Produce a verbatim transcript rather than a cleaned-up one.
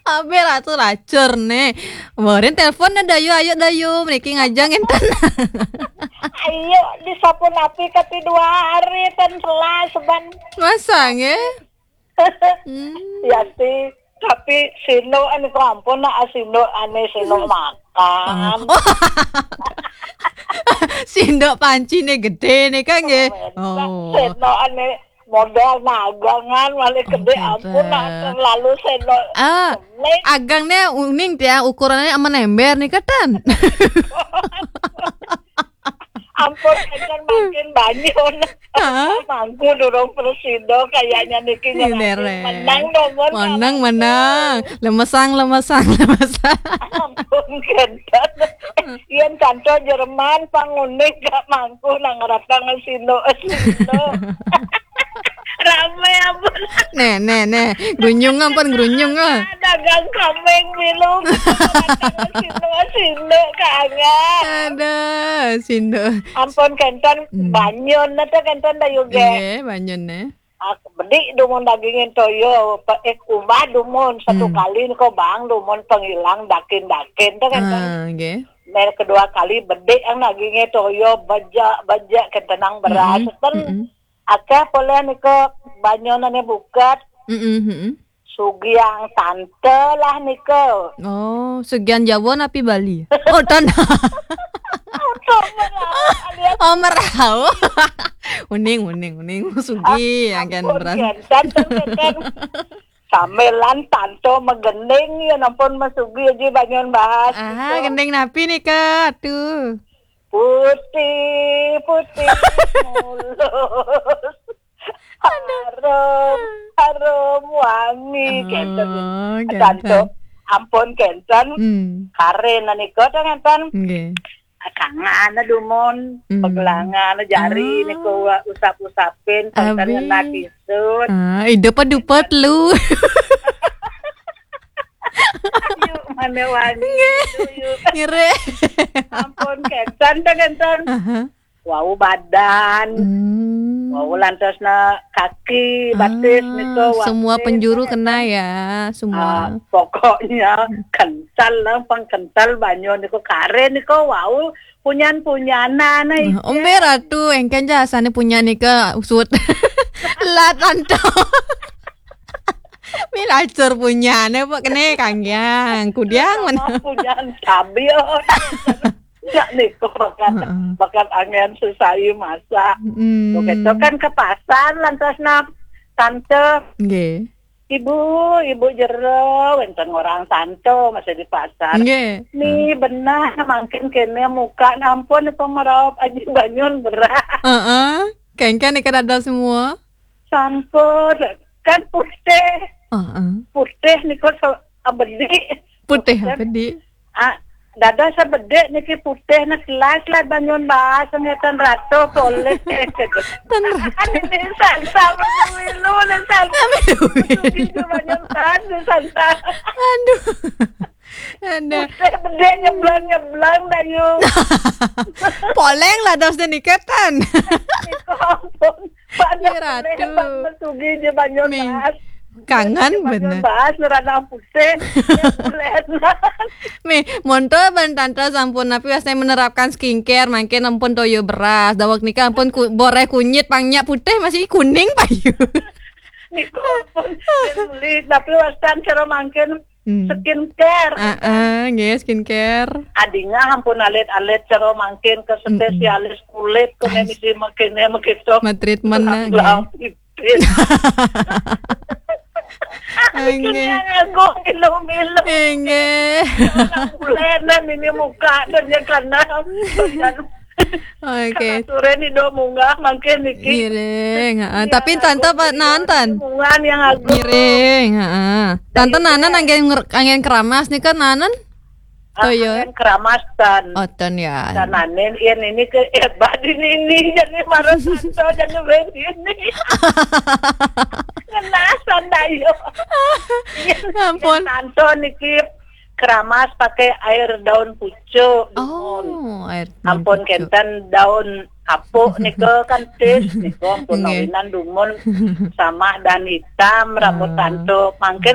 Abe ratu lacur ne. Borin telepon ne Dayu, ayo Dayu, mriki ngajeng enten. Ayo, disapunapi kati dua hari ten telas ban. Masa nggih? Hmm. Ya sih, tapi sinduk ane kok ampun nak sinduk ane sinduk makan. Oh. Sinduk pancine gede nih kan nggih. Oh. Sinduk ane modal nagangan malah gede ampun nak terlalu sinduk. Ah, agang ne uning tiang ukurannya amen ember nih keten. Ampun, kan makin banyak. Hah? Mangku durung presido kayaknya niki. Ini ngerasa re. Menang dong, Mon. Menang, menang. Lemesang, lemesang, lemesang. Ampun, kenten. Yen canto Jerman, pangunik gak mangku nang ratang sino, sino. Rame ampun. Nih, nih, nih. Grunyung ampun, grunyung, ah. Dagang kambing milu. Sino, sino, kangen. Ada, sino. Ampun kenten. Hmm. Banyon, nata kenten Dayu ge. Iya, banyon, nih. Ah, bedik dumun dagingin toyo, pe-, eh, ubah dumun satu. Hmm. Kali niko bang dumun pengilang dakin-dakin, tuh kenten. Ah, nggih. Mer kedua kali bedik yang dagingnya toyo, bejak, bejak kenten nang beras. Mm-mm. Ten mm-mm. Akeh poleh niko banyonane bukat. Mm-mm, mm-mm. Sugiang tante lah niko. Oh, sugiang Jawa napi Bali? Oh, tan. Oh, merau. Uning, uning, uning. Sugi, ah, ampun, beras. Kenten, kenten. Sambilan tanto megending, ya ampun, mesugi aja banyon bahas. Aha, gitu. Gending napi nih, Kak? Tuh. Putih, putih mulus. Aduh. Harum, harum wangi, oh, kenten. Kenten. Tanto, ampun, kenten. Hmm. Karen, nika, tuh, kenten. Nggih. Kangen dumun, hmm. Pegelangan jari, ah. Niko wa usap-usapin, abi. Kenten ngena kisut. Ah, ida pa dupat lu. Ayo, mana wani. Nggih. Ayo. Ngire. Ampun, kenten, kenten. Aha. Wau badan. Hmm. Wau lantas na kaki, batis, ah, niko, semua watis, penjuru kenten. Kena ya, semua. Ah, pokoknya kental lah, pang kental banyo niko karen niko, wau punyan-punyanan, nah, itu. Ombe ratu, engken ja asane punyan niko usut. Lah tanto. Mi lacur punyane, Pak, kene kanggiang, kudiang. Sama mana? Punyan cabe. Ya niko bakat, heeh. Bakat angen sesai masak. Mm. Oke, itu kan ke pasar lantas nak tante. Nggih. Ibu, ibu jero, wenten orang tanto masih di pasar. Nggih. Ni benar mangkin kene muka nampun pemeraup aji banyon beras. Heeh. Kengken ikan ada semua. Sampun, kan putih. Heeh. Putih niko so-, abedik. Putih abedik. Ah, dados sabedik niki putih, nah, jelas lah banyon bahas ngeten ratu poleh. Tan ratu. Ini sansa milu, ini sansa. Milu. Itu banyon bahas, ini sansa. Aduh. Ada. Putih bedik nyeblang-nyeblang, Dayu. Poleng lah dos dan iketan. Niko ampun. Pak, ya, ratu. Pak, mesugi je banyon bahas. Kangen bener. Bahas nerana putih. Mi, monto ban tante sampun napi wasna menerapkan skincare, mangkin ampun toyo beras, dawek nika ampun ku-, boreh kunyit, pang nyak putih masih kuning payu. Niko ampun, tapi wastan cara mangkin, hmm, skincare. Ah, ah, nggih, skincare. Adinga ampun alit-alit cara mangkin ke, mm-mm, spesialis kulit, kene misi mangkin, mangkin to. Ma treatment, nggih. Nggih. Aduh, nggih. Kena nganggo milu-milu. Nggih. Bulenan ini muka dan ya karena. Oke. Karena sore ni do munggah mangkin niki. Ngiring, heeh. Ya, tapi tante apa nonton? Munggah yang aku. Ngiring, heeh. Tante nana nanggen nger-, anggen keramas nih kan nanan? Ah, toyo. Anggen keramas tan. Oh, tan ya. Tananen, iya, ini ke, eh, badin ini, jadi marah tanto, jadi begini. Ngenasan, Dayu. Iya, ampun. Tanto niki keramas pakai air daun pucuk. Oh, air daun pucuk. Ampun, kenten daun kapuk niko kan tis, niko ampun, nggih, awinan dumun sama dan hitam rambut, ah, tanto. Mangkin